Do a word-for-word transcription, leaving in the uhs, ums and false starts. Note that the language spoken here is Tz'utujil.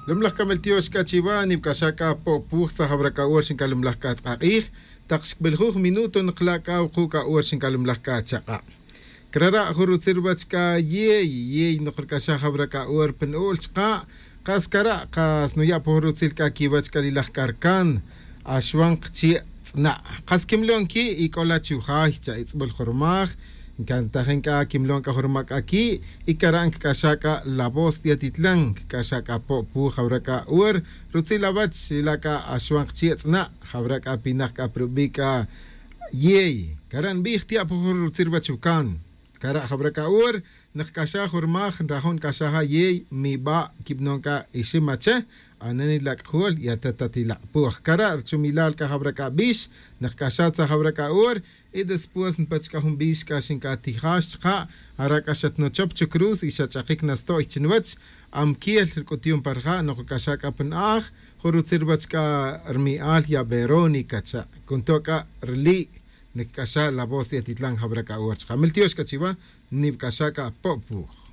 Lomlaj c'a meltiox c'a chiva nipc'axa c'a po'puj tzajawra c'a hora xincalomlaj c'a tk'ak'ij. Tak xcbeljuj minuto nokla' c'a wuku' c'a hora xincalomlaj c'a chak'a'. Crara' jun rutzil ruwach c'a yey yey nok rc'axa jawra c'a hora pa nu'ul chka'. Kas cara' kas nuya' pa jun rutzil c'a quiwach c'a li laj c'a rcan. Axwan kchi' tz'na' kas quimlon qui' y c'o la chu jay cha itz'bul jun rumaj. Ncantajin c'a quimlon c'a jun rumaj c'a qui' y cara' ncac'axa c'a la voz ti atitlan ncac'axa c'a po' pu jawra c'a hora. Rutzil awach ila' c'a axwan kchi' tz'na' jawra c'a pinak c'a pa rubi' c'a yey cara' nbij tiya' pa jun rutzil wach wcan. Cara' jawra c'a hora. Nkac'axa jun rumaj nrajo' nc'axa ja yey miba' quibanon c'a ixim ache. Anani la c'ajol y ata ta tilak' puj cara' ruchumilal c'a jawra c'a bix. Nkac'axa tzaj jawra c'a hora. Y después npach c'a jun bix c'a xincatijax chka'. Ara' c'a xatnochop chucruz y xach'akic nasto'y chi nwach. Amquiel rc'utyun pa rija' nokac'axa c'a pa na'aj. Jun rutzil ruwach c'a rmi'al ya verónica cha' cunto' c'a rili'. Nac'axa la voz ti atitlan jawra c'a hora chka' meltiox c'a chiwa. Nipc'axa c'a po'puj.